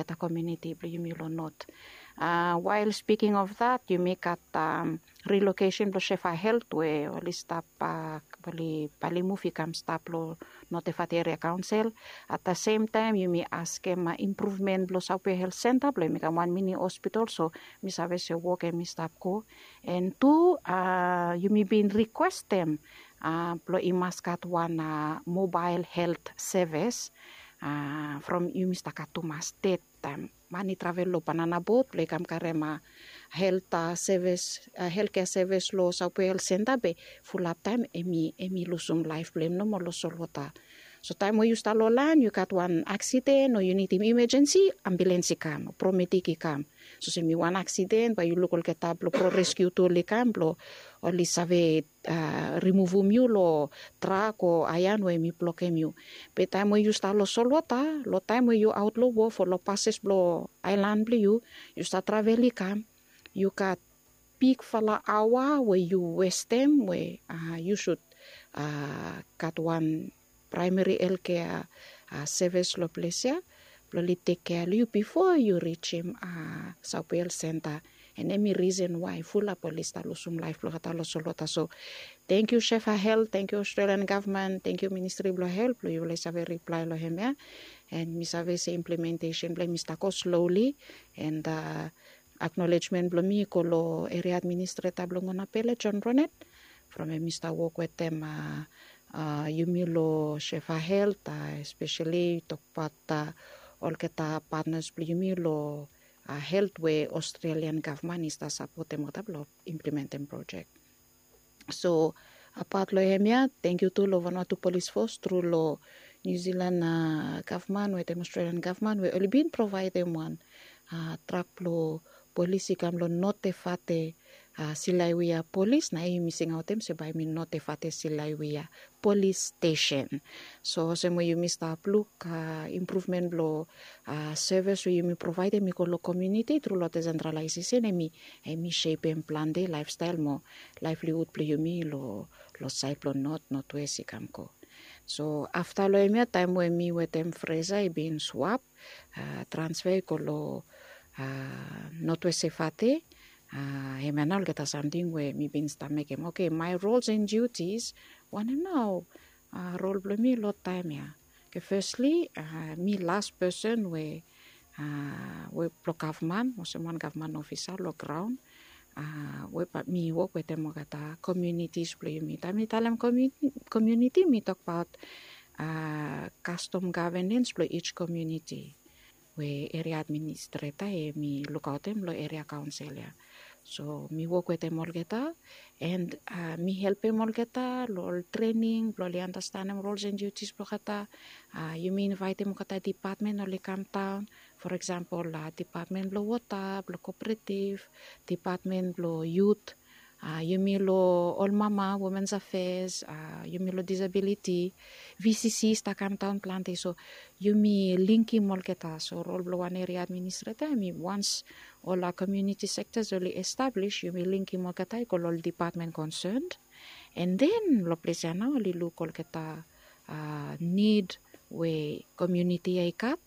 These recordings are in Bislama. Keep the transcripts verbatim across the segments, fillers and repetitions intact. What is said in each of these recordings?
olgeta komiuniti blong yumi long not. Wael spiking of that, yumi gat rilokesen blong shefa helt we oli stap, oli palimuv i kam stap long notefat eria kaonsel. At the sem taem yumi askem impruvmen blong saupia helt senta blong yumi kam wan mini hospitol so mi save se wok em i stap go. An tu yumi bin rikwestem blong i mas gat wan mobael helt sevis from yumi stap gat tumas ded taem man i travel long banana bot blong i kam karem helt sevis, helt kea sevis long saupia helt senta be fulap taem em i lusum laef blong em nomo long solwota. So taem we yu stap long laen yu gat wan aksiden o yu nidim imejensi, ambulens i kam o promedik i kam. So olsem i wan aksiden bae yu luk olgeta blong proreskiu tul i kam blong oli save rimuvum yu long trak o aean we em i blokem yu. Be taem we yu stap long solwota long taem we yu aot long wof o long pases blong aelan blong yu, yu stap travel i kam, yu gat bigfala aoa we yu westem we yu sud gat wan praemeri helkea sevis long ples ya blong oli tekkea long yu bifo yu rijim saupia helt senta. An em i risen wae fulap oli stap lusum laef blong olgeta long solwota. So tangkiu shefa helt, tangkiu australian gavman, tangkiu ministri blong helt blong yufala i save riplae long hemia. An mi save se implementesen blong em i stap go sloli. An aknolejmen blong mi i go long eria administreta blong ngonapele john ronet from em i stap wok wetem yumi long shefa helt, espeseli tokbaot olgeta patnas blong yumi long helt we australian gavman i stap sapotem olgeta blong implementem projek. So apat long hemia tangkiu tu long vanua tu polis fos tru long niu zilan gavman wetem australian gavman we oli bin provaedem wan trak blong polis i kam long notefate silaiwia polis na em yumi singaotem se bae yumi notefate silaiwia polis stesen. So olsem we yumi stap luk impruvmen blong sevis we yumi provaedem i go long komiuniti tru long desentralaesesen em i shepem plante laefstael mo laevlihud blong yumi long saed blong not notwes i kam go. So afta long hemia taem we mi wetem fresa i bin swap transfe i go long notwes sefate. Hemia nao olgeta samting we mi bin stap mekem oke mae rols an diutis wanem nao rol blong mi long taem ya. Oke fesli mi las pesen we we blong gavman olsem wan gavman ofisa long graon we mi wok wetem olgeta komiunitis blong yumi taem mi talem komiuniti mi tokbaot kastom gavenens blong ij komiuniti we eria administreta em i lukaotem long eria kaonsel ya. So mi wok wetem olgeta an mi helpem olgeta long ol trening blong oli anastanem rols an diutis blong olgeta. Yumi invaetem olgeta dipatmen oli kamdaon, for eksampol dipatmen blong wota blong koperetiv, dipatmen blong yut, yumi long ol mama womens afes, yumi long disabiliti, vcc i stap kamdaon plante. So yumi lingim olgeta so rol blong wan eria administreta em i wans ol komiuniti sektas oli establis yumi lingim olgeta i go long ol dipatmen konsen. An den long ples ya nao oli luk olgeta nid we komiuniti ya i gat.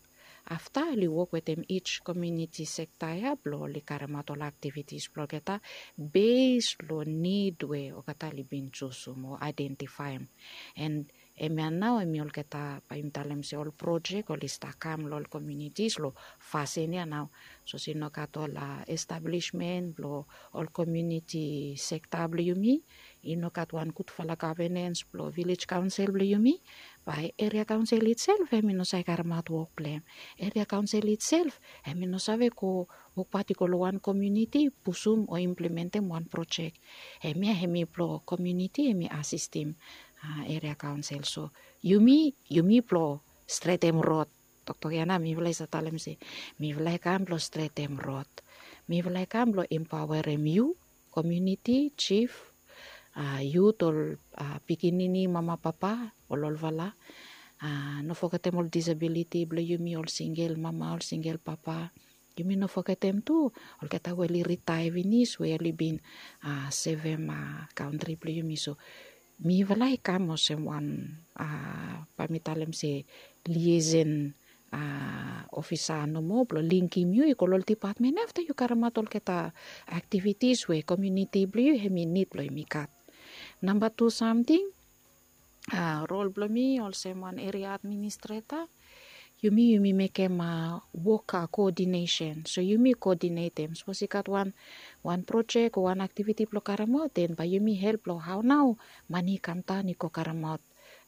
Afta oli wok wetem ij komiuniti sekta ya blong oli karemaot ol aktivitis blong olgeta bes long nid we olgeta oli bin jusum o aedentifaem. An hemia nao em i olgeta bae yumi talem se ol projek oli stap kam long ol komiunitis long fasin ya nao. Sapos i no gat ol establismen blong ol komiuniti sekta blong yumi, i no gat wan gudfala gavenens blong vilej kaonsel blong yumi, bae eria kaonsel itself em i no save karemaot wok blong em. Eria kaonsel itself em i no save go wokbaot i go long wan komiuniti pusum o implementem wan projek. Hemia em i blong komiuniti em i asistim eria kaonsel. So yumi yumi blong stretem rod. Toktok ya nao mifala i save talem se mifala i kam blong stretem rod. Mifala i kam blong empaoerem yu komiuniti, jif, yut, ol pikinini, mama, papa, ol olfala. No fogetem ol disabiliti blong yumi, ol singel mama, ol singel papa. Yumi no fogetem tu olgeta we oli ritaea finis we oli bin sevem kantri blong yumi. So mifala i kam olsem wan, bae mi talem se, liesen a, ofisa nomo blong lingim yu i go long ol dipatmen ya afta yu karemaot olgeta aktivitis we komiuniti blong yu hem i nid blong hem i gat. Namba tu samting, a, rol blong mi olsem wan eria administreta, yumi yumi mekem a wok a koodinesen. So yumi koodinetem sapos i gat wan wan projek o wan aktiviti blong karemaot den bae yumi help long hao nao mani i kamdaon i go karemaot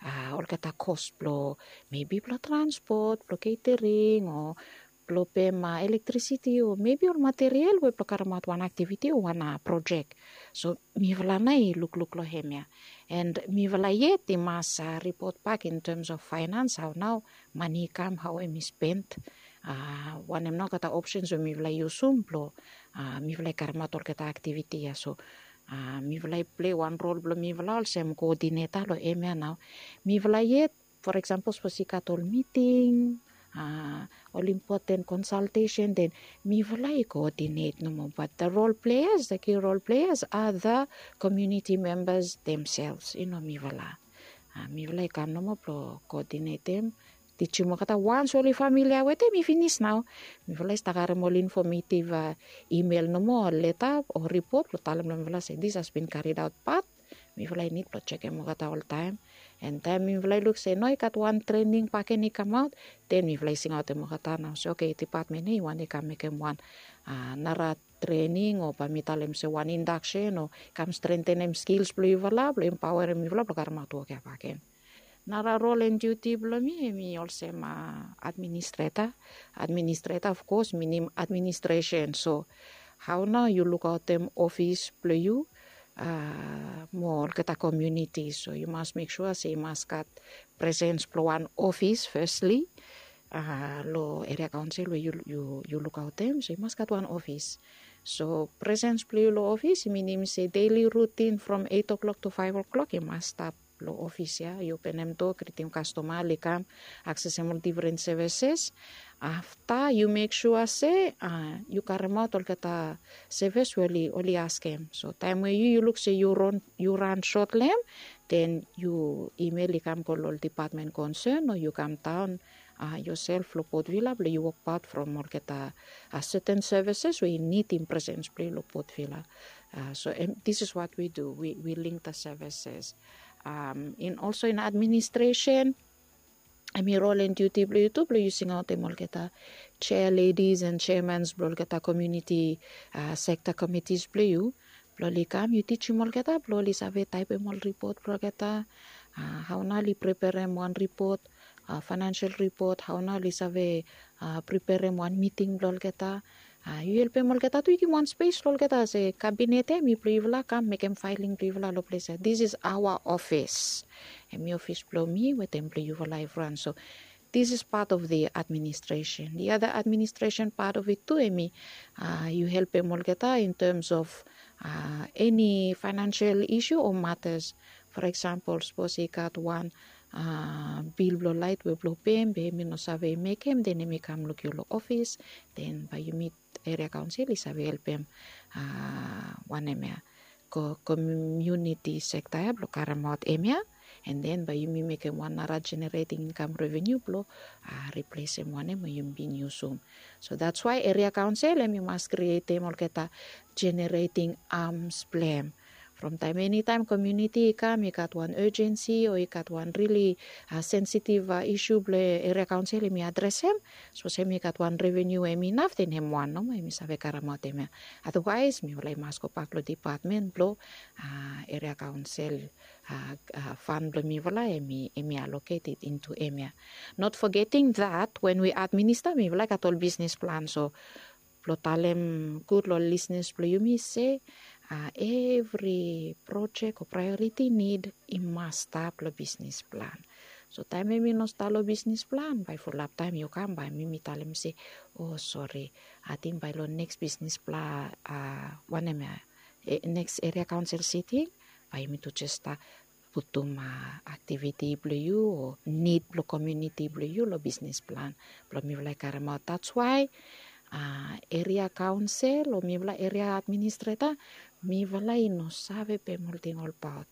a olgeta kos blong mebi blong transpot blong ketering o blong pem a elektrisiti o mebi ol materiel we blong karemaot wan aktiviti o wan a projek. So mifala nao i lukluk long hem ya. And mifala yet i mas a ripot bak in tems of faenans hao nao mani i kam hao hem i spen. A wanem nao olgeta opsens we mifala i yusum blong a mifala i karemaot olgeta aktiviti ya so a mifala i pilei wan rol blong mifala olsem koodineta long hem ya nao. Mifala yet for eksampol sapos i gat ol miting a ol impoten konsaltesen den mifala i koodinet nomo bat the rol pleas the ki rol pleas a the komiuniti membas demsels i no mifala. A mifala i kam nomo blong koodinetem tijim olgeta wans oli familia wetem i finis nao. Mifala i stap karem ol infomeitiv a imel nomo o leta o ripot blong talem long mifala se dis has bin karidaot bat mifala i nid blong jekem olgeta oltaem. And taem mifala i luk se no i gat wan trening baken i kamaot den mifala i singaotem olgeta nao se oke dipatmen ya i wantem i kam mekem wan a nara trening o bae mi talem se wan indaksen o kam strentenem skils blong yufala blong empaoerem yufala blong karemaot wok ya baken. Nara rol and diuti blong mi hem i olsem a administreta. Administreta of kos minim administresen so hao nao yu lukaotem ofis blong yu a mo olgeta komiuniti so yu mas mek sua se i mas gat presens blong wan ofis fesli a long eria kaonsel we yu lukaotem so i mas gat wan ofis. So presens blong yu long ofis i minim se deli rutin from eit o'klok tu faef o'klok i mas stap long ofis ya yu openem doa gritim kastoma oli kam aksesem ol difren sevises. Afta yu mek sua se a yu karemaot olgeta sevis we oli askem so taem we yu yu luk se yu ran sot long hem den yu imel i kam go long ol dipatmen konsen o yu kamdaon a yosel long potvila blong yu wokbaot from olgeta a seten sevises we i nidim presens blong yu long potvila. So this is what we do we link the services. In olso in administresen em i rol and diuti blong yu tu blong yu singaotem olgeta chair ledis and chairmans blong olgeta komiuniti sekta komitis blong yu blong oli kam yu tijim olgeta blong oli save taepem ol ripot blong olgeta. Hao nao oli preperem wan ripot faenansel ripot hao nao oli save preperem wan miting blong olgeta. Yu helpem olgeta tu yu givim wan spes long olgeta se kabinet ya em i blong yufala kam mekem faeling blong yufala long ples ya this is aoa ofis. Em i ofis blong mi wetem blong yufala evriwan so this is pat of the administresen the ada administresen pat of it tu em i yu helpem olgeta in tems of eni faenansel isu o matas. For eksampol sapos i gat wan bil blong laet we blong pem be em i no save mekem den em i kam luk yu long ofis den bae yumi eria kaonsel i save helpem wanem ya komiuniti sekta ya blong karemaot em ya. An den bae yumi mekem wan nara jenereting inkam revenu blong riplesem wanem we yumi bin yusum. So dats wae eria kaonsel em i mas krietem olgeta jenereting ams blong em. From taem enitaem komiuniti i kam i gat wan ejensi o i gat wan rili sensitiv isu blong eria kaonsel em i adresem sapos em i gat wan revenu we em inaf den hem wan nomo em i save karemaot em ya. Adawaes mifala i mas gobak long dipatmen blong eria kaonsel fan blong mifala em i aloketed intu em ya. Not fogeting dat wen wi administa mifala i gat ol bisnis plan so blong talem gud long lisnis blong yumi se evri projek o praeoriti nid i mas stap long bisnis plan. So taem em i no stap long bisnis plan bae fulap taem yu kam bae mi mi talem se o sori ating bae long neks bisnis plan wanem ya neks eria kaonsel siting bae yumi tu jes stap putum aktiviti blong yu o nid blong komiuniti blong yu long bisnis plan blong mifala i karemaot dats wae eria kaonsel o mifala eria administreta mifala i no save pem olting olbaot.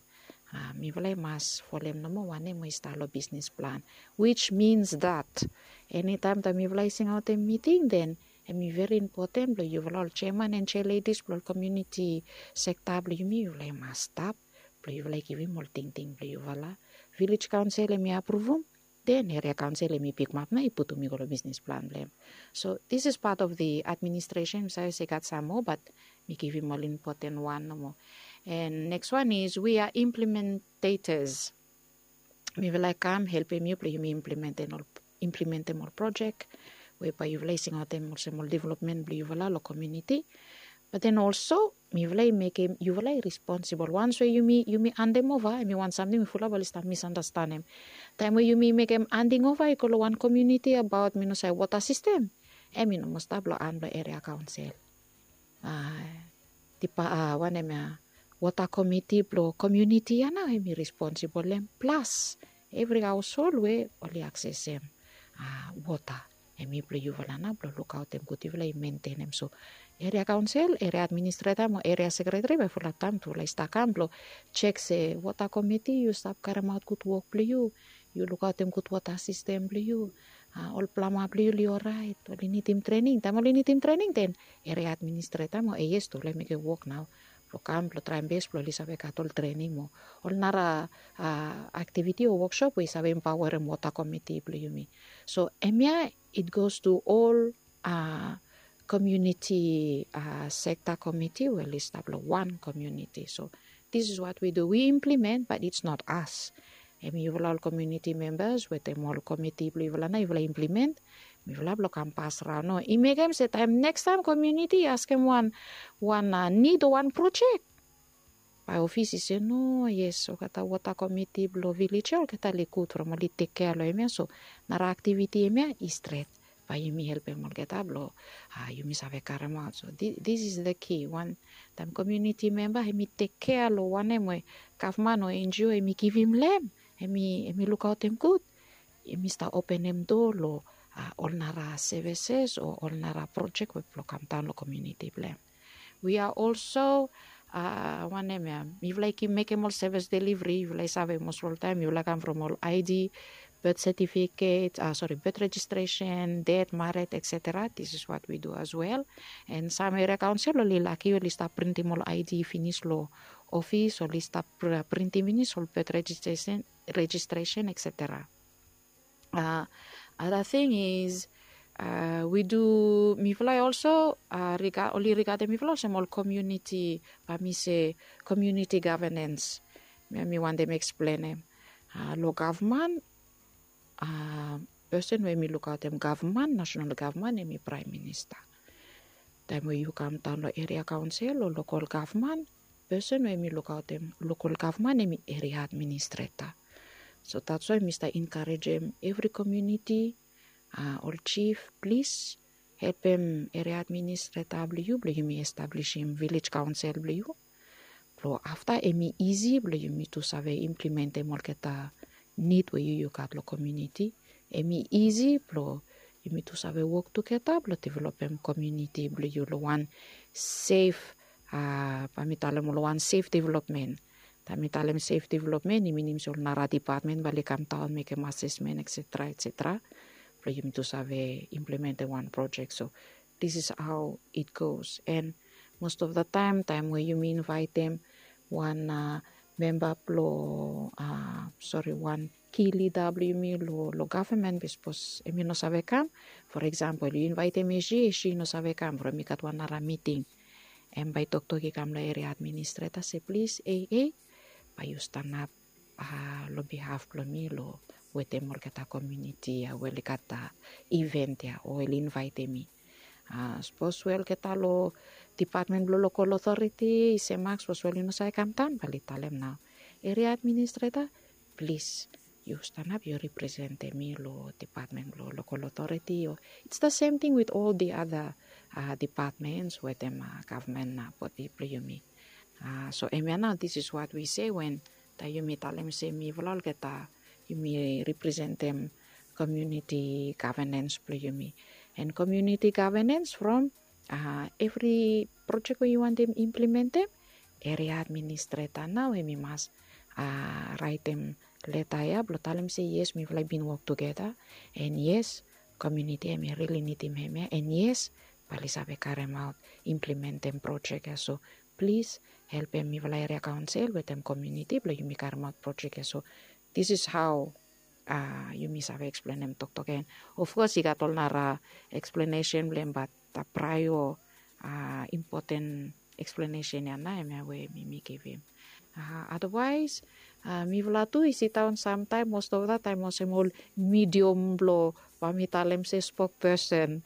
Mifala i mas folem nomo wanem we i stap long bisnis plan, which means that enitaem taem mifala i singaotem miting, then em i veri impoten blong yufala ol jeaman and jealedis blong ol komuniti sekta blong yumi, yufala i mas stap blong yufala i givim ol tingting blong yufala. Vilej kaonsel em i apruvum, then eria kaonsel em i pikimap nao i putum i go long bisnis plan blong em. So this is part of the administration. Mi save se i gat sam moa, bat mi givim ol impoten wan nomo. And next one is we are implementators. Mifala i kam helpem yu blong yumi implementem ol projek we bae yufala i singaotem olsem ol developmen blong yufala long komuniti. Bat then olso mifala i mekem yufala i responsibol. Wans we yumi handem ova, em i wan samting we fulap oli stap misandastanem. Taem we yumi mekem handing ova i go long wan komuniti abaot, mi no save, wota sistem, em i no moa stap long han blong eria kaonsel. Wanem ya, wota komiti blong komuniti ya nao em i responsibol long em. Plas evri haoshol we oli aksesem wota, em i blong yufala nao blong lukaotem gud, yufala i mentenem. So eria kaonsel, eria administreta mo eria sekreteri bae fulap taem tufala i stap kam blong jek se wota komiti, yu stap karemaot gud wok blong yu, yu lukaotem gud wota sistem blong yu, ol plama blong yu oli oraet, oli nidim trening. Taem oli nidim trening, then eria administreta mo AS tufala i mekem wok nao blong kam blong traem bes blong oli save gat ol trening mo ol nara aktiviti o woksop we i save empaoarem wota komiti blong yumi. So hemia it goes to ol komuniti sekta komiti we oli stap long wan komuniti. So this is what we do, we implement, but it's not us. Em i yufala ol komuniti membas wetem ol komiti blong yufala nao yufala implement. Mifala blong kam pasraon, no? I mekem se taem nekstaem komuniti i askem wan, wan nid o wan projek, bae ofis i se, no, yes, olgeta wota komiti blong vilej ya olgeta oli gud from oli tekkea long hemia. So nara aktiviti hemia i stret, bae yumi helpem olgeta blong yumi save karemaot. So this is the key. Wan taem komuniti memba em i tekkea long wanem we gavman o NGO em i givim long em, em i lukaotem gud, em i stap openem doa long ol nara sevises o ol nara projek we blong kamdaon long komuniti blong em. We are also, wanem ya, mifala i mekem ol sevis deliveri. Yufala i save mos ol taem yufala kam from ol ID, birth certificate, sori, birth registration, death, married, et cetera. This is what we do as well. And sam eria kaonsel oli laki oli stap printim ol ID finis long ofis, oli stap printim finis ol birth registration, registration, et cetera. Other thing is, we do, mifala i also, oli rigadem mifala olsem ol komuniti, bae mi se komuniti gavenens. Mi wantem eksplenem. Long gavman, pesen we em i lukaotem gavman, nasenal gavman, em i praem minista. Taem we yu kamdaon long eria kaonsel o lokol gavman, pesen we em i lukaotem lokol gavman em i eria administreta. So that's why mi stap enkarejem evri komuniti, ol jif, plis helpem eria administreta blong yu blong yumi establisim vilej kaonsel blong yu. Blong afta em i isi blong yumi tu save implementem olgeta nid we yu yu gat long komuniti. Em i isi blong yumi tu save wok tugeta blong developem komuniti blong yu long wan sef, bae mi talem long wan sef developmen. Taem mi talem sef developmen i minim se ol nara depatmen bae oli kamdaon mekem asesmen, et cetera, et cetera, blong yumi tu save implementem wan projek. So this is how it goes. And most of the time, taem we yumi invaetem wan memba blong, sori, wan ki lida blong yumi long gavman, be sapos em i no save kam, for example yu invaetem Eshi, Eshi i no save kam from i gat wan nara miting, em bae toktok i kam long eria administreta se, plis, ei, ei, bae yu stanap long bihaf blong mi long wetem olgeta komuniti ya we oli gat iven ya o oli invaetem mi. Sapos we olgeta long depatmen blong lokol otoriti i se mak, sapos we oli no save kamdaon, bae oli talem nao, eria administreta, plis, yu stanap yu representem mi long depatmen blong lokol otoriti o it's the same thing with all the other depatmens wetem gavman bodi blong yumi. So hemia nao, this is what we say wen taem yumi talem se mifala olgeta yumi representem komuniti gavenens blong yumi. And komuniti gavenens from evri projek we yu wantem implementem, eria administreta nao em i mas raetem leta ya blong talem se yes, mifala i bin wok tugeta, and yes, komuniti em i rili nidim hemia, and yes, bae oli save karemaot implementem projek ya. So plis, helpem mifala eria kaonsel wetem komuniti blong yumi karemaot projek ya. So this is how yumi save eksplenem toktok ya. And of kos i gat ol nara eksplenesen blong em, bat praeo impoten eksplenesen ya nao hemia we mi mi givim. Adawaes, mifala tu i sidaon samtaem, most of the taem olsem ol midiom blong bae mi talem se spokpesen.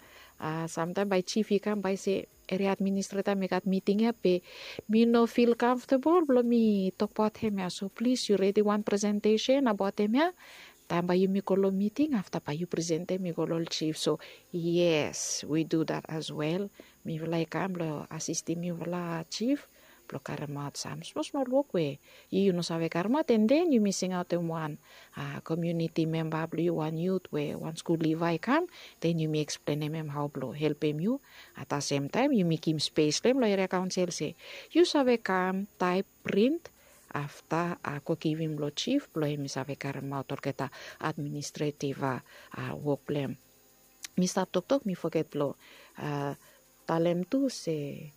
Samtaem bae jif i kam bae i se, eria administreta, mi gat miting ya be mi no fil kamftabol blong mi tokbaot hemia. So plis, yu redi wan presentesen abaot hemia. Taem bae yumi go long miting, afta bae yu presentem i go long ol jif. So yes, we do that as well. Mifala i kam blong asistim yufala jif blong karemaot sam smosmol wok we yu yu no save karemaot, and then yumi singaotem wan komuniti memba blong yu, wan yut we wan skul liva i kam, then yumi eksplenem em hao blong helpem yu. At the same time yumi givim spes long em long eria kaonsel se yu save kam taep, print, afta go givim long jif blong em i save karemaot olgeta administretiv wok blong em. Mi stap toktok, mi foget blong talem tu se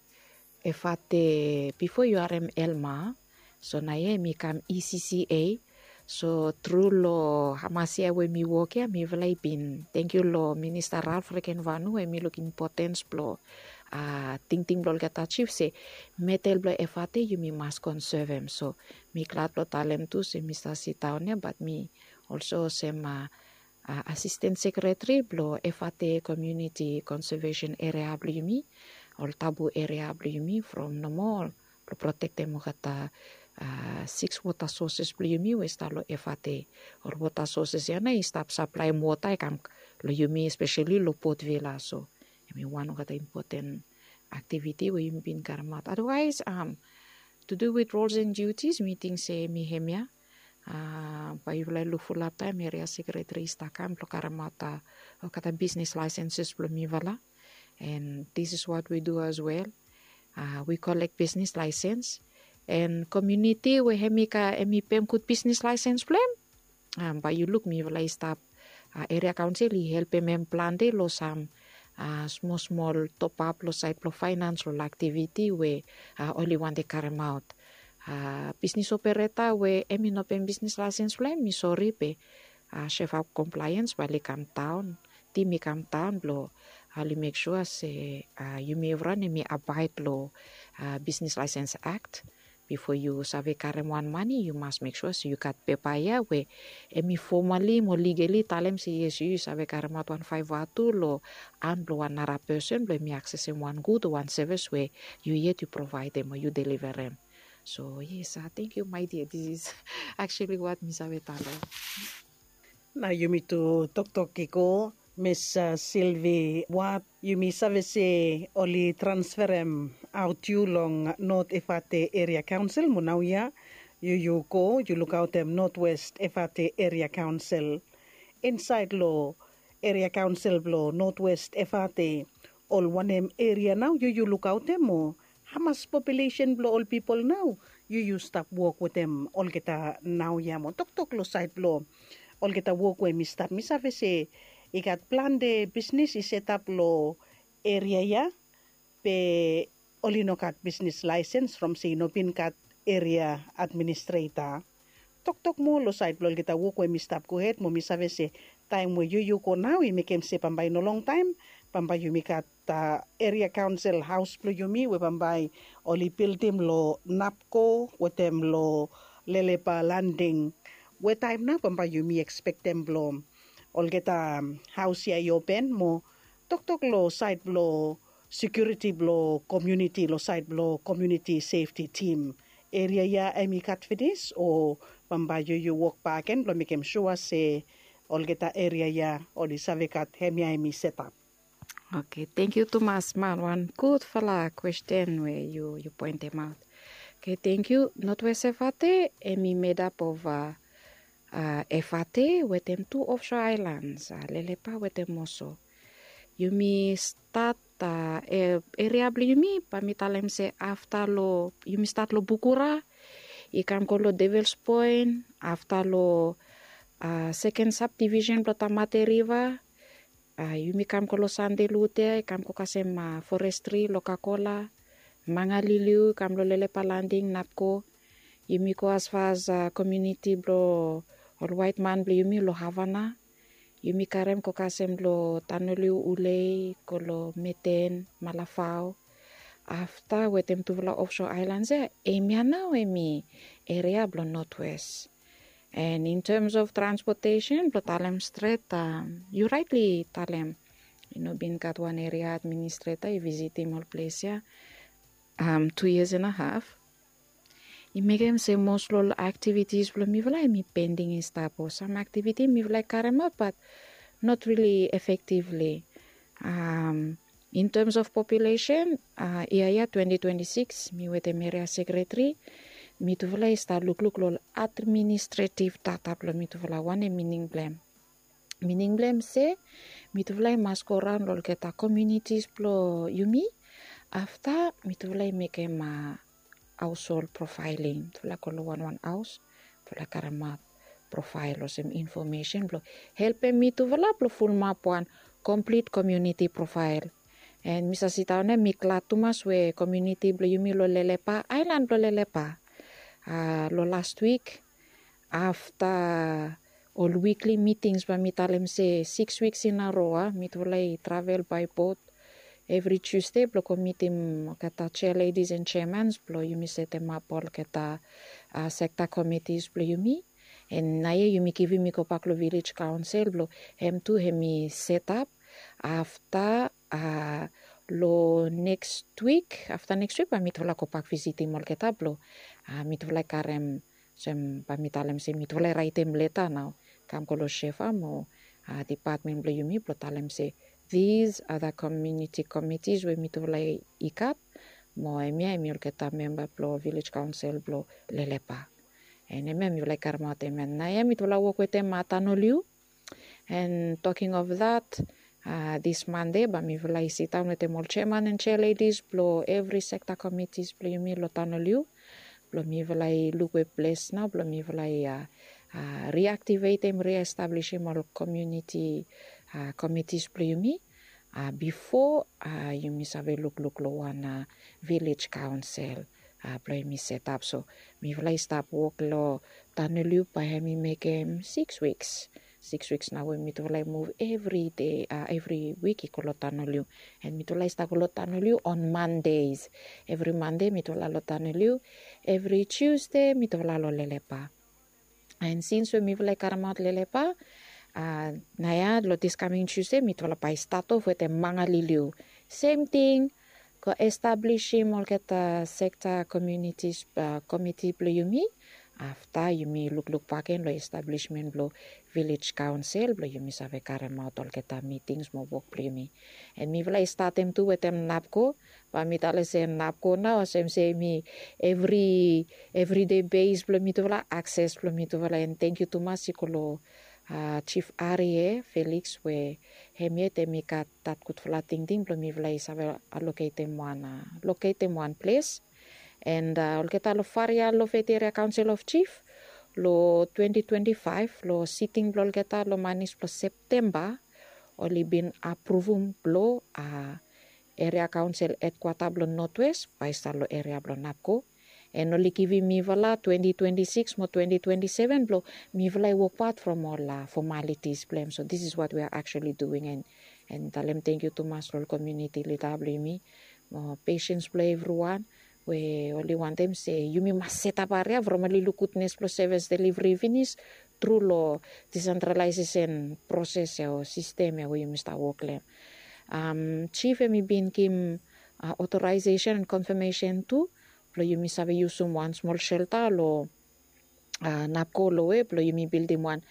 Efate, bifo yu harem Elma, so naoia em i kam E C C A. So tru long hamas yia we mi wok ya, mifala i bin tangkiu long Minista Ralph Regenvanu we em i luk impotens blong tingting blong olgeta jif se metel blong Efate yumi mas konsevem. So mi glad blong talem tu se mi stap sidaon ya, bat mi olsem olsem asisten sekreteri blong Efate Komuniti Konsevesen Eria blong yumi, ol tabu eria blong yumi from nomo blong protektem olgeta siks wota soses blong yumi we i stap long Efate. Ol wota soses ya nao i stap saplaem wota i kam long yumi, espeseli long Port Vila. So em i wan olgeta impoten aktiviti we yumi bin karemaot. Adawaes, to do with roles and duties, mi ting se em i hemia. Bae yufala i luk fulap taem eria sekreteri i stap kam blong karemaot olgeta bisnis laesenses blong mifala. And this is what we do as well. We collect business license. And komuniti we em i ka, em i pem gud bisnis laesens blong em, bae yu luk mifala i stap, eria kaonsel i helpem em plante long sam smosmol topap long saed blong faenans, ol aktiviti we oli wantem karemaot. Bisnis opereta we em i no pem bisnis laesens blong em, mi sori, be sefap komplaens bae oli kamdaon, tim i kamdaon blong oli mek sua se yumi evriwan em i abaed long Bisnis Laesens Akt. Bifo yu save karem wan mane, yu mas mek sua se yu gat pepa ya we em i fomali mo ligeli talem se yes, yu yu save karemaot wan faeva tu long han blong wan nara pesen blong em i aksesem wan gud o wan sevis we yu yet yu provaedem o yu deliverem. So yes, tangkiu my dear, this is actually what mi save talem. Nao yumi tu toktok i go, Miss Silvi Wat, yumi save se oli transferem aot yu long Not Efate Eria Kaonsel, mo naoia yu yu go yu lukaotem Notwest Efate Eria Kaonsel. Insaed long eria kaonsel blong Notwest Efate, ol wanem eria nao yu yu lukaotem, mo hamas populesen blong ol pipol nao yu yu stap wok wetem olgeta naoia, mo toktok long saed blong olgeta wok we mi stap, mi save se i gat plante bisnis i setap long eria ya, be oli no gat bisnis laesens from se i no bin gat eria administreta. Toktok moa long saed blong olgeta wok we mi stap gohed, mo mi save se taem we yu yu go nao i mekem se bambae no longtaem bambae yumi gat eria kaonsel haos blong yumi we bambae oli bildim long Napko wetem long Lelepa Landing, we taem nao bambae yumi ekspektem blong olgeta haos ya i open. Mo toktok long saed blong sekiuriti blong komuniti, long saed blong komuniti sefti tim, eria ya em i gat finis o bambae yu yu wok bakegen blong mekem sua se olgeta eria ya oli save gat hemia em i setap? Oke, tangkiu tumas man, wan gudfala kwesten we yu yu poentemaot. Oke, tangkiu. Notwest Efate em i medap ova Efate wetem tu ofso aelans, Lelepa wetem Oso. Yumi stat, eria blong yumi bae mi talem se afta long, yumi stat long Bukura, i kam go long Devils Point, afta long seken sabdivisen blong Tamate Riva. Yumi kam go long Sande Lute, i kam go kasem forestri long Kakola, Mangaliliu i kam long Lelepa Landing, Napko. Yumi go asfas komiuniti blong ol waet man blong yumi long Havana. Yumi karem go kasem long Tanoliu, Ulei, go long Meten, Malafao. Afta wetem tufala ofso aelans ya, hemia nao hem i eria blong Notwes. And in terms of transportation, blong talem stret, yu raetli talem, i no bin gat wan eria administreta i visitim ol ples ya tu years and a haf. I mekem se mos long ol aktivitis blong mifala hem i pending i stap, o sam aktiviti mifala i karemaot, bat not really efektivli. In terms of population, yia ya twenty twenty six, mi wetem eria sekretari, mitufala i stap lukluk long ol administretiv data blong mitufala, wanem mining blong hem. Mining blong hem se mitufala i mas go raon long olgeta komiunitis blong yumi. Afta mitufala i mekem haoshol profaeling, mitufala go long wanwan haos, mitufala karemaot profael olsem infomesen blong helpem mitufala blong fulumap wan komplit komiuniti profael. And mi save sidaon ya mi glad tumas we komiuniti blong yumi long Lelepa, aelan blong Lelepa, long last wik, afta ol wikli mitings, bae mi talem se siks wiks in a ro, mitufala i travel bae bot evri Tiusde blong go mitim olgeta chair ladies and chairmans blong yumi setemap olgeta sekta komitis blong yumi. And naoia yumi givim i gobak long vilej kaonsel blong hem tu hem i setap. Afta long neks wik, afta neks wik bae mitufala gobak visitim olgeta blong mitufala i karem, olsem bae mi talem se mitufala i raetem leta nao, kam go long SHEFA mo dipatmen blong yumi blong talem se these are the community committees we mitufala i gat, mo hemia hem i olgeta memba blong vilej kaonsel blong Lelepa. And hemia mifala i karemaot hemia. Naoia mitufala wok wetem Tanoliu. And talking of that, this Monday bae mifala i sidaon wetem ol chairman and chair ladies blong evri sekta komitis blong yumi long Tanoliu, blong mifala i luk we ples nao blong mifala i riaktivetem, riestablisim ol komiuniti komitis blong yumi, bifo yumi save lukluk long wan vilej kaonsel blong yumi setap. So mifala i stap wok long Tanoliu bae hem i mekem siks wiks. Siks wiks nao we mitufala i muv evri dei, evri wik i go long Tanoliu. And mitufala i stap go long Tanoliu on Mondays. Evri Mande mitufala long Tanoliu. Evri Tiusde mitufala long Lelepa. And sins we mifala i karemaot Lelepa, naoia long this coming Tuesday mitufala bae i stat of wetem Mangaliliu. Sem ting, go establisim olgeta sekta komiunitis komiti blong yumi. Afta yumi lukluk bakegen long establismen blong vilej kaonsel blong yumi save karemaot olgeta mitings mo wok blong yumi. And mifala i statem tu wetem NAPCO. Bae mi talem se NAPCO nao olsem se hem i evri, evridei bes blong mitufala, akses blong mitufala. And tangkiu tumas i go long Jif Arie Felix we hem yet hem i gat dat gudfala tingting blong mifala i save loketem wan, loketem wan ples. And olgeta long Farea Loface Area Council of Chief, long twenty twenty five long siting blong olgeta long manis blong Septemba, oli bin apruvum blong eria kaonsel hedkwata blong Notwes bae i stap long eria blong NAPCO. And oli givim mifala twenty twenty six mo twenty twenty seven blong mifala i wok pat from ol fomalitis blong hem. So this is what we are actually doing. And talem tangkiu tumas long ol komiuniti lida blong yumi mo pesens blong evriwan we oli wantem se yumi mas setap aria from oli luk gudnes blong sevis deliveri finis tru long disentralaesesen proses ya o sistem ya we yumi stap wok long hem. Jif hem i bin givim otoraesesen and konfamesen tu blong yumi save yusum wan smol selta long NAPCO long we blong yumi bildim wan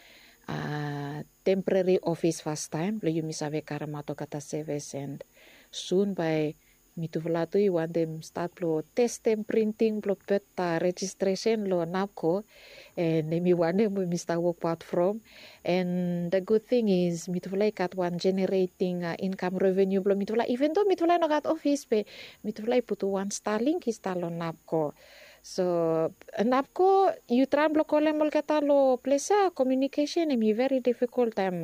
temporeri ofis fastaem blong yumi save karemaot olgeta sevis. And sun bae mitufala tu i wantem stat blong testem printing blong bet rejistresen long NAPCO. And hem i wanem we mi stap wok pat from. And the good thing is mitufala i gat wan generating income revenue blong mitufala, even though mitufala i no gat ofis, be mitufala i putum wan Starlink i stap long NAPCO. So napko yu traem blong kolem olgeta long ples ya, komiunikesen hem i veri difikol taem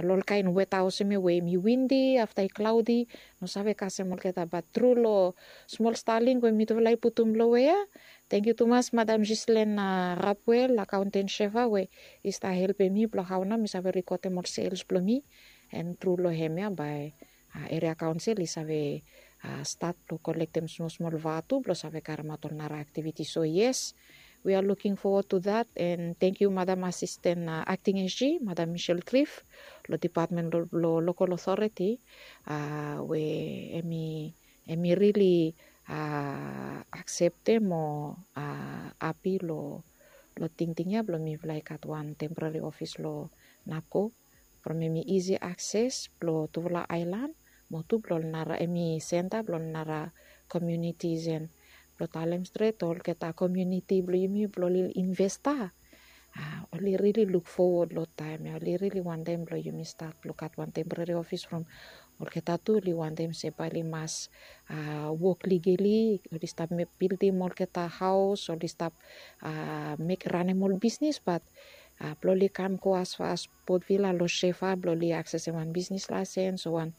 long ol kaen weta olsem ya we hem i windi afta i klaodi, no save kasem olgeta bat tru long smol staling we mitufala i putum long we ya. Tengiu tumas madam Gislen Rapwel akaonten shefa we i stap helpem mi blong hao nao mi save rikotem ol sels blong mi. An tru long hem ya bae eria kaonsel i save stat blong kolektem smol smol vatu blong save karemaot ol nara aktiviti so yes. We a luking fowod tu dat an tengiu madam asisten akting sg madam michel trif long dipatmen blong lokol otoriti we em i rili akseptem o api long tingting ya blong mifala i gat wan temporari ofis long napko from em i isi akses blong tufala aelan mo tu blong ol nara em i senta blong ol nara komiunitis an blong talem stret olgeta komiuniti blong yumi blong ol investa oli rili luk fowod long taem ya oli rili wantem blong yumi stat blong gat wan temporari ofis from olgeta tu oli wantem se bae oli mas wok ligeli oli stap bildim olgeta haos oli stap mek ranem ol bisnis bat blong oli kam go asfas potvila long shefa blong oli aksesem wan bisnis laisens o wan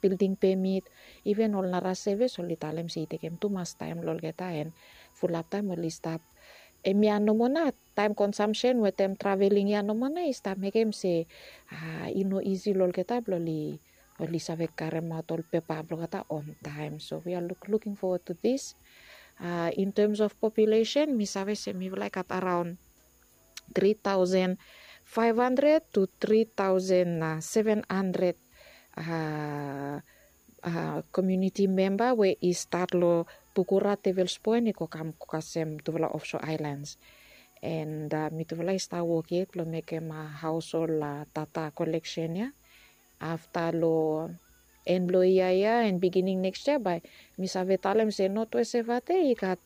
bilding pemit. Iven ol nara sevis oli talem se i tekem tumas taem long olgeta an fulap taem oli stap em ya nomo nao taem konsamsen wetem traveling ya nomo nao i stap mekem se i no isi long olgeta blong oli oli save karemaot ol pepa blong olgeta on taem so we a luk luking fowod tu dis. In tems of populesen mi save se mifala i gat araon tri taosen faef handred tu tri taosen seven handred komiuniti memba we i stat long pukura tevelspoen i go kam kasem tufala ofso aelans. An mitufala i stap wok yet blong mekem haos ol data koleksen ya afta long en blong yia ya an bigining neks yia bae mi save talem se notwes evate i gat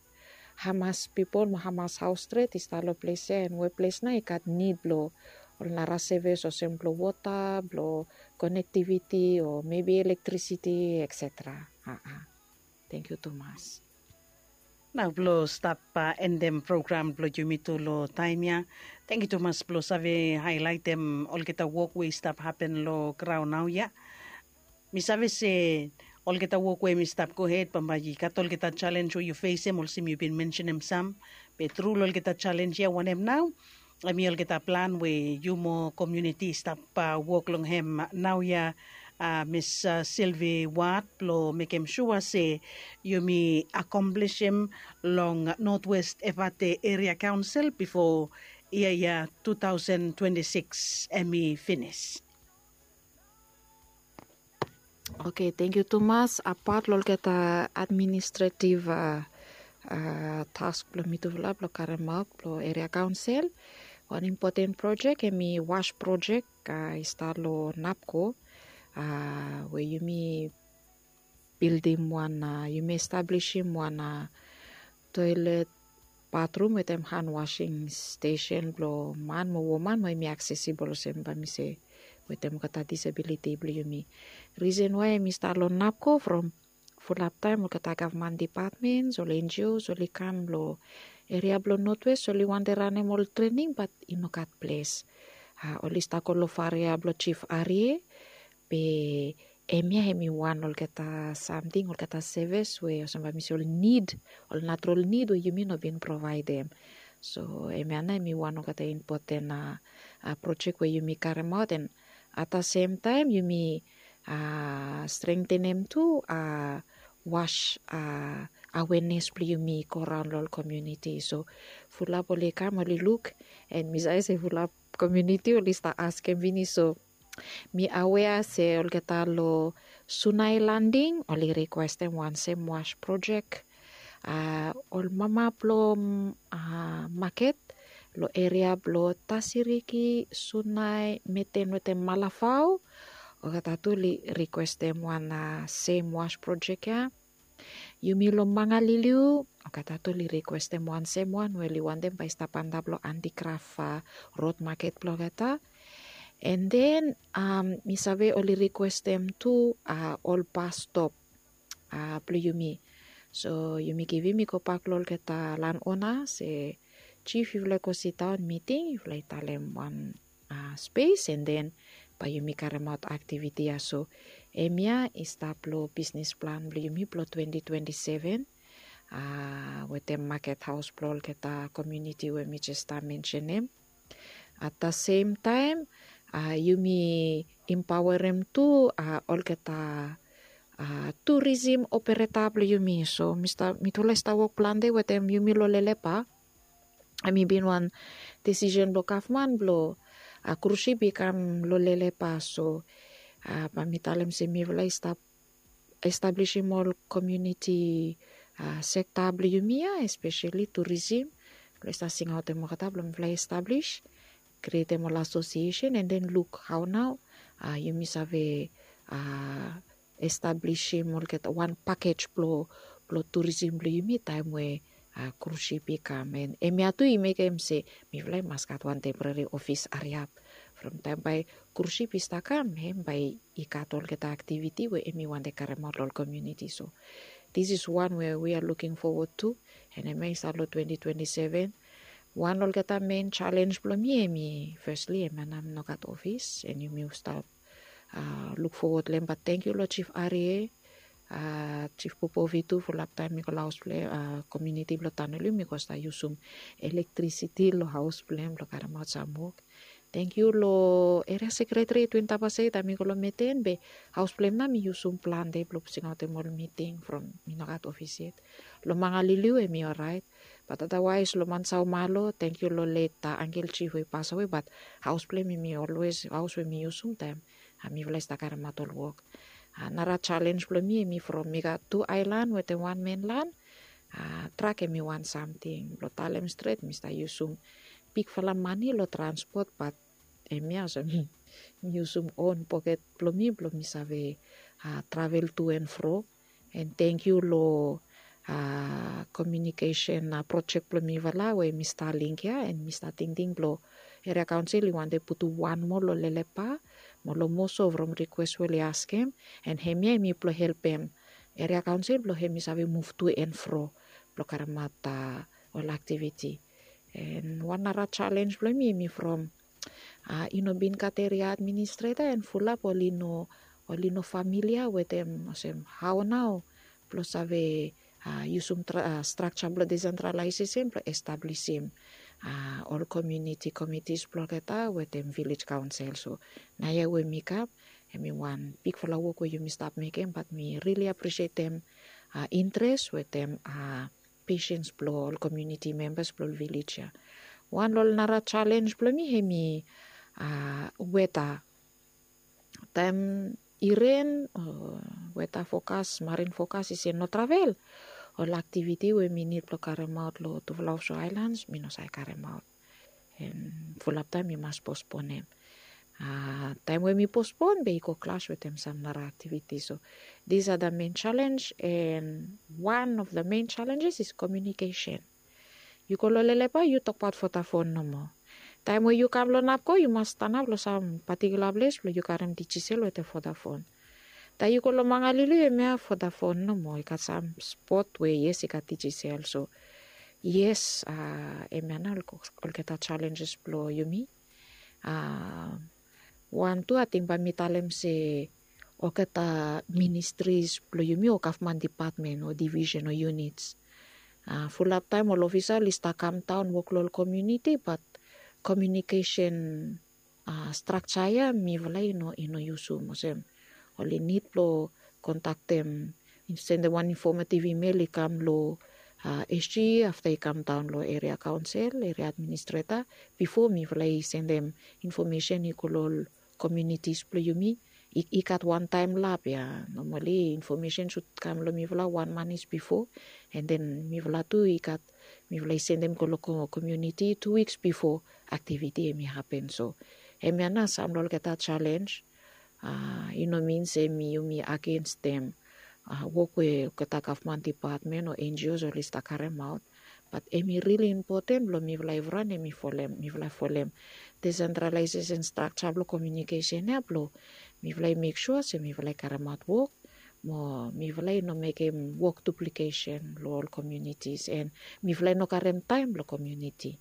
hamas pipol mo hamas haos stret i stap long ples ya an we ples nao i gat nid blong ol nara sevis olsem blong wota blong konektiviti o mebi elektrisiti etsetera. Tengiu tumas. Nao blong stap endem program blong yumi tu long taem ya, tengiu tumas blong save haelaetem olgeta wok we i stap hapen long graon naoia. Mi save se olgeta wok we mi stap gohed bambae i gat olgeta jalenj we yu fesem olsem yu bin mensenem sam. Be tru long olgeta jalenj ya wanem nao em i olgeta plan we yu mo komiuniti i stap wok long hem naoia, mis silvi wad blong mekem sua se yumi akomplisim long notwest evate eria kaonsel bifo yia ya tu taosen twenti sikis em i finis. Oke, tengiu tumas apat long olgeta administretiv task blong mitufala blong karemaot blong eria kaonsel, wan impoten projek em i was projek i stap long napko we yumi bildim wan yumi establisim wan toelet batrum wetem han wasing stesen blong man mo woman mo em i aksesibol olsem bae mi se wetem olgeta disabiliti blong yumi. Risen wae em i stap long napko from fulap taem olgeta gavman dipatmens ol enjios oli kam long eria blong notwes oli wantem ranem ol trening bat i no gat ples. Oli stap go long faria blong jif arie. Be em ya em i wan olgeta samting olgeta sevis we olsem bae mi se ol nid ol natural nid we yumi no bin provaedem. So em ya nao em i wan olgeta impoten projek we yumi karemaot an ata semtaem yumi strengtenem tu was awenes blong yumi i go raon long ol komiuniti so fulap oli kam oli luk. An mi save se fulap komiuniti oli stap askem finis so mi awea se olgeta long sunai landing oli rikwestem wan sem was projek. Ol mama blong maket long eria blong tasiriki sunai meten wetem malafao olgeta tu oli rikwestem wan sem was projek ya. Yumi long mangaliliu olgeta tu oli rikwestem wan sem wan we oli wantem bae i stap antap long antikraf rod maket blong olgeta. An den mi save oli rikwestem tu ol bastop blong yumi So yumi givim i go bak long olgeta lan ona se, jif, yufala i go sidaon miting, yufala i talem wan spes, and then bae yumi karemaot aktiviti ya. So hemia i stap long bisnis plan blong yumi blong twenty twenty seven, wetem maket haos blong olgeta komuniti we mi jes stap mensenem. At the same time, yumi impaoerem tu olgeta turisim opereta blong yumi. So mitufala i stap wok plante wetem yumi long Lelepa. Hemi bin wan disisen blong gavman blong krusip i kam long Lelepa. So bae mi talem se mifala i stap establisim ol komuniti sekta blong yumi ya, espeseli turisim, blong i stap singaotem olgeta blong mifala i establis, krietem ol asosiesen, and then luk hao nao yumi save establisim olgeta wan pakej blong turisim blong yumi taem we krusip i kam. And hemia tu i mekem se mifala i mas gat wan temporeri ofis hariap. From taem bae krusip i stap kam, hem bae i gat olgeta aktiviti we hemi wantem karemaot long ol komuniti. So this is one we we are looking forward to. And hemia i stap long twenty twenty seven. Wan long olgeta mein jalenj blong mi hemi, fesli, hemia nao mi no gat ofis, and yumi stap luk fowod long hem. Bat tangkiu long Jif Arie, Jif Popovi tu, fulap taem mi go long haos blong hem, komuniti blong Tanoli, mi go stap yusum elektrisiti long haos blong hem blong karemaot sam wok. Tangkiu long eria sekreteri Twin Tabasei, taem mi go long meten be haos blong hem nao mi yusum plante blong singaotem ol miting from mi no gat ofis yet. Long Mangaliliu hemi oraet. Bat adawaes long Mansaomalo, tangkiu long let angkel jif we i pasawe, bat haos blong hem hemi olwes haos we mi yusum taem mifala i stap karemaot ol wok. Nara jalenj blong mi hemi from mi gat tu aelan wetem wan menlan. Trak hemi wan samting blong talem stret, mi stap yusum bigfala mane long transpot, bat hemia olsem mi yusum on poket blong mi blong mi save travel tu and fro. And tangkiu long komiunikesen projek blong mifala we hemi Starlink ya, and mi stap tingting blong eria kaonsel i wantem putum wan moa long Lelepa, mo long Moso from rikwes we oli askem, and hemia hemi blong helpem eria kaonsel blong hemi save muv tu and fro blong karemaot ol aktiviti. And wan nara jalenj blong mi hemi from i no bin gat eria administreta, and fulap oli no, oli no familia wetem olsem hao nao blong save yusum strakja blong desentralaesesen blong establisim ol komuniti komitis blong olgeta wetem vilej kaonsel. So naoia we mi kam, hemi wan bigfala wok we yumi stap mekem, bat mi rili apresietem interes wetem pesens blong ol komuniti membas blong ol vilej ya. Wan long ol nara jalenj blong mi hemi weta. Taem i ren o weta fokas, marin fokas i se no travel, ol aktiviti we mi nid blong karemaot long tufala ofso aelans mi no save karemaot. And fulap taem mi mas posponem. Taem we mi pospon be i go klas wetem sam nara aktiviti. So these are the main challenge, and one of the main challenges is communication. Yu go long Lelepa, yu tokbaot Vodafone nomo. Taem we yu kam long Napco, yu mas stanap long sam patikula ples blong yu karem Digicel wetem Vodafone. Taem yu go long Mangaliliu, hemia Vodafone nomo, i gat sam spot we yes i gat Digicel. So yes, hemia nao olgeta jalenjes blong yumi. Wan tu ating bae mi talem se olgeta ministris blong yumi o gavman dipatmen o divisen o yunits, fulap taem ol ofisa oli stap kamdaon wok long ol komuniti, bat komiunikesen strakja ya mifala i no, i no yusum. Olsem oli nid blong kontaktem, sendem wan infomativi imel i kam long SG, afta i kamdaon long eria kaonsel, eria administreta, bifo mifala i sendem infomesen i go long ol komunitis blong yumi. I gat wan taemlap ya, nomali infomesen sud kam long mifala wan manis bifo, and then mifala tu i gat, mifala i sendem go long komuniti tu wiks bifo aktiviti hemi hapen. So hemia nao sam long olgeta jalenj. I no min se mi, yumi agensem wok we olgeta gavman dipatmen o NGOs oli stap karemaot, bat hemi rili impoten blong mifala evriwan hemi folem, mifala folem desentralaesesen strakja blong komiunikesen ya blong mifala i mek sua se mifala i karemaot wok mo mifala i no mekem wok duplikesen long ol komiunitis, and mifala i no karem taem blong komiuniti.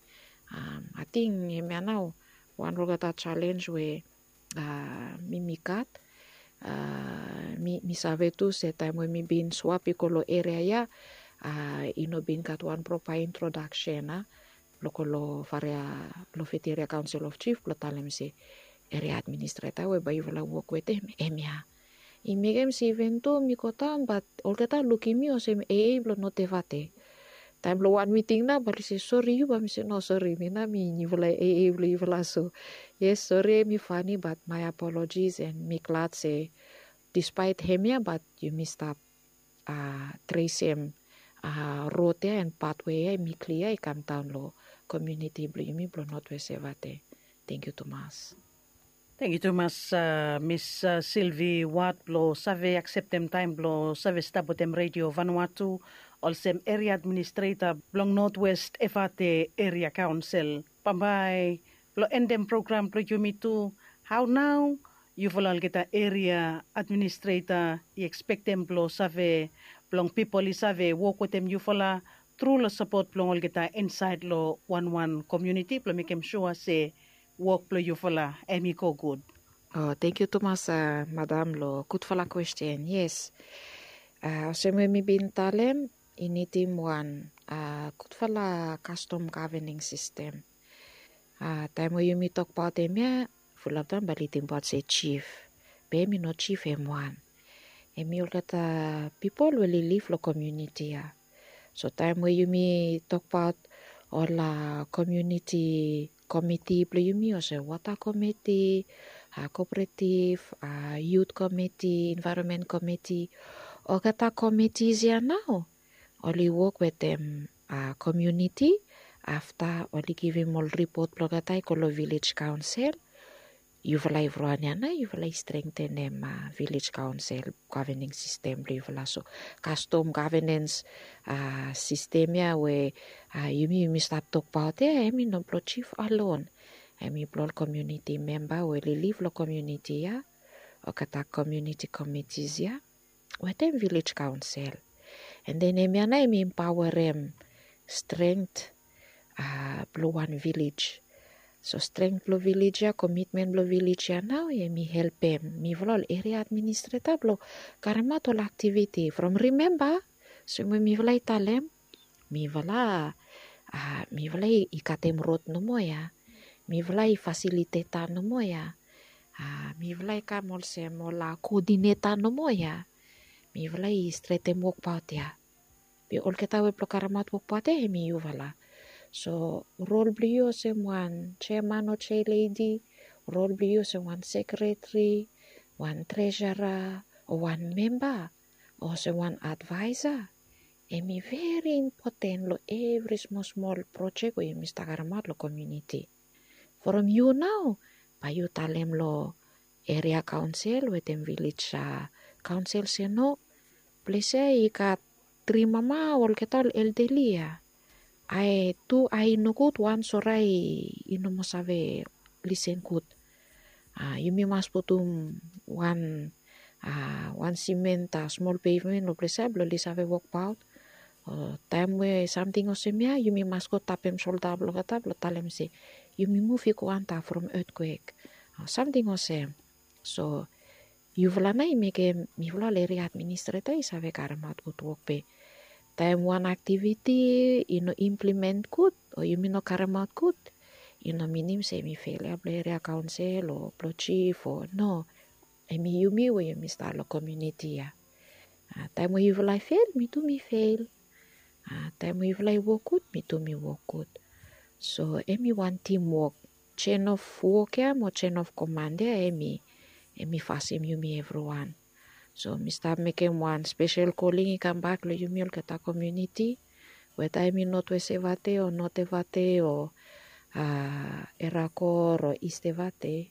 Ating hemia nao wan olgeta jalenj we mi mi gat. Mi save tu se taem we mi bin swap i go long eria ya, i no bin gat wan propa introdaksen a blong go long faria, long fiti eria kaonsel of jif blong talem se eria administreta we bae yufala wok wetem hemia. I mekem se iven tu mi go daon bat olgeta lukim mi olsem aa blong notevate. Taem long wan miting nao bae oli se sori yu, bae mi se no sori, mi nao mi niufala aa blong yufala. So yes, sori hemi fani bat mae apolojis, and mi glad se dispaet hemia bat yumi stap tresem rod ya and patwe ya hemi klia i kam daon long komiuniti blong yumi blong notwest evate. Tangkiu tumas. Tangkiu tumas, mis silvi wad blong save akseptem taem blong save stap wetem redio vanua tu olsem eria administreta blong notwest evate eria kaonsel. Bambae blong endem program blong yumi tu, hao nao yufala olgeta eria administreta i ekspektem blong save blong pipol i save wok wetem yufala tru long sapot blong olgeta insaed long wanwan komiuniti blong mekem sua se wok blong yufala hemi go gud? Tangkiu tumas madam long gudfala kwesten. Yes, olsem we mi bin talem, i nidim wan gudfala kastom gavening sistem. Taem we yumi tokbaot hemia, fulap taem bae oli tingbaot se jif, be hemi no jif hem wan. Hemi olgeta pipol we oli liv long komiuniti ya. So taem we yumi tokbaot ol komiuniti komiti blong yumi olsem wota komiti, koperetiv, yut komiti, envaeronmen komiti, olgeta komitis ya nao oli wok wetem komiuniti. Afta oli givim ol ripot blong olgeta i go long vilej kaonsel. Yufala evriwan ya nao yufala i strengtenem vilej kaonsel gavening sistem blong yufala. So kastom gavenens sistem ya we yumi yumi stap tokbaot ya, hemi no blong jif alon. Hemi blong ol komiuniti memba we oli liv long komiuniti ya, olgeta komiuniti komitis ya wetem vilej kaonsel. And then hemia nao hemi empaoarem strength blong wan vilej. So strength blong vilej ya, komitmen blong vilej ya nao hemi helpem mifala ol eria administreta blong karemaot ol aktiviti from, rimemba olsem we mifala i talem, mifala mifala i katem rod nomo ya. Mifala i fasiliteta nomo ya. Mifala i kam olsem ol koodineta nomo ya. Mifala i stretem wokbaot ya. Be olgeta we blong karemaot wokbaot ya hemi yufala. So rol blong yu olsem wan jeaman o jealedi, rol blong yu olsem wan sekreteri, wan tresara, o wan memba, o olsem wan advaesa, hemi veri impoten long evri smol smol projek we yumi stap karemaot long komiuniti. From yu nao bae yu talem long eria kaonsel wetem vilej kaonsel se no, ples ya i gat tri mama, olgeta ol eldeli ya. Ae tu ae i nogud, wan sore ae i no moa save lisen gud. Yumi mas putum wan wan simen, smol pevmen long ples ya blong oli save wokbaot. O taem we samting olsem ya yumi mas go tapem solda blong olgeta blong talem se yumi muv i go antap from etkwek, o samting olsem. So yufala nao i mekem mifala ol eria administreta i save karemaot gud wok. Be taem wan aktiviti i no implement gud o yumi no karemaot gud, i no minim se hemi felia blong eria kaonsel o blong jif o no. Hemi yumi we yumi stap long komiuniti ya. Taem we yufala i fel, mi tu mi fel. Taem we yufala i wok gud, mi tu mi wok gud. So hemi wan timwok. Jen of wok ya mo jen of koman ya hemi hemi fasim yumi evriwan. So mi stap mekem wan spesel koling i kambak long yumi olgeta komiuniti, weta hemi notwest evate o notevate o erakor o istevate.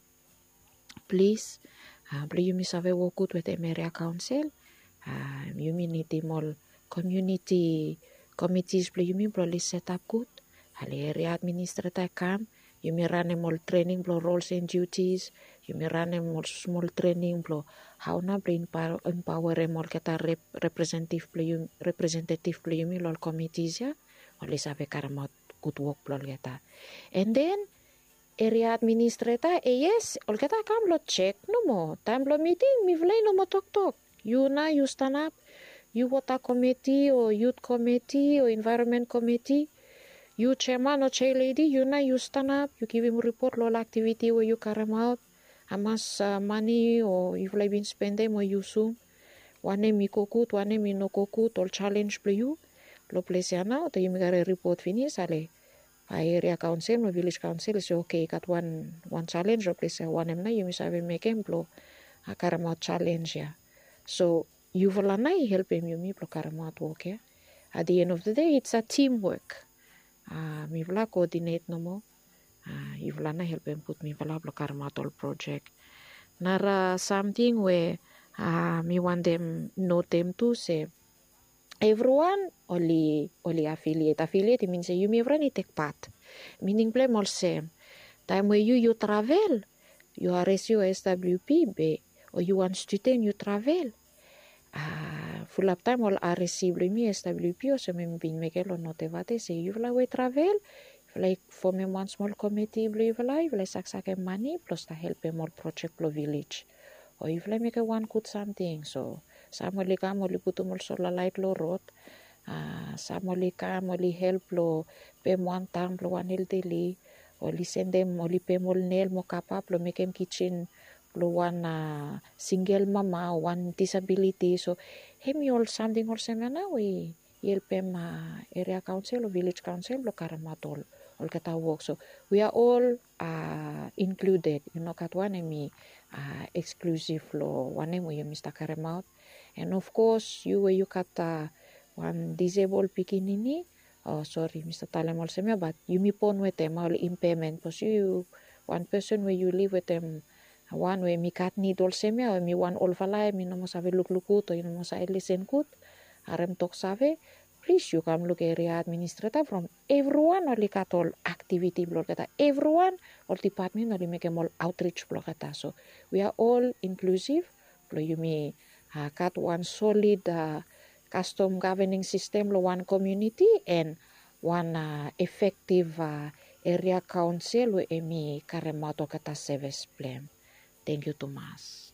Plis, blong yumi save wok gud wetem eria kaonsel, yumi nidim ol komiuniti komitis blong yumi blong oli setap gud. Ale eria administreta i kam, Yumi ranem ol trening blong rols and duties. Yumi ranem ol smol trening blong hao nao blong empaoerem olgeta representetiv blong yumi long ol komitis ya, oli save karemaot gud wok blong olgeta. And then eria administreta, yes, olgeta kam blong jek nomo. Taem blong miting mifala i no moa toktok. Yu nao yu stanap, yu wota komiti o yut komiti o envaeronmen komiti, yu jeaman o jea ledi, yu nao yu stanap, yu givim ripot long ol aktiviti we yu karemaot, hamas mane o yufala i bin spendem o yusum, wanem i go gud, wanem i no go gud, ol jalenj blong yu. Long ples ya nao taem yumi karem ripot finis, ale bae eria kaonsel o vilej kaonsel i se, oke, i gat wan jalenj long ples ya, wanem nao yumi save mekem blong karemaot jalenj ya? So yufala nao i helpem yumi blong karemaot wok ya. At the end of the day it's a teamwork. Mifala koodinet nomo. Yufala nao i helpem put mifala blong karemaot ol projek. Nara samting we mi wantem notem tu se evriwan oli afiliet. Afiliet i min se yumi evriwan i tek pat. Mining blong hem olsem, taem we yu yu travel, yu aresi o swp be o yu wan studen yu travel, fulap taem ol aresi blong yumi swp olsem we mi bin mekem long notevate se yufala we travel, yufala i fomem wan smol komiti blong yufala, yufala i saksakem mane blong stap helpem ol projek blong vilej. O yufala i mekem wan gud samting. So sam oli kam oli putum ol sola laet long rod. Sam oli kam oli help long pem wan tang blong wan eldeli. Oli sendem, oli pem ol nel mo kapa blong mekem kijin blong wan singel mama o wan disabiliti. So hemi ol samting olsem ya nao we i helpem eria kaonsel o vilej kaonsel blong karemaot ol olgeta wok. So we are all included. I no gat wan hemi eksklusiv long wanem we yumi stap karemaot. And of course yu we yu gat wan disebol pikinini, o sori, mi stap talem olsem ya, bat yumi bon wetem ol impaemen, bikos yu wan pesen we yu liv wetem wan we hemi gat nid olsem ya, o hemi wan olfala, hemi no moa save lukluk gud o i no moa save lisen gud, harem toksave, plis yu kam luk eria administreta from evriwan oli gat ol aktiviti blong olgeta. Evriwan, ol dipatmen oli mekem ol aotrij blong olgeta. So we are all inklusiv blong yumi gat wan solid kastom gavening sistem long wan komuniti, and wan efektiv eria kaonsel we hemi karemaot olgeta sevis blong hem. Tangkiu tumas.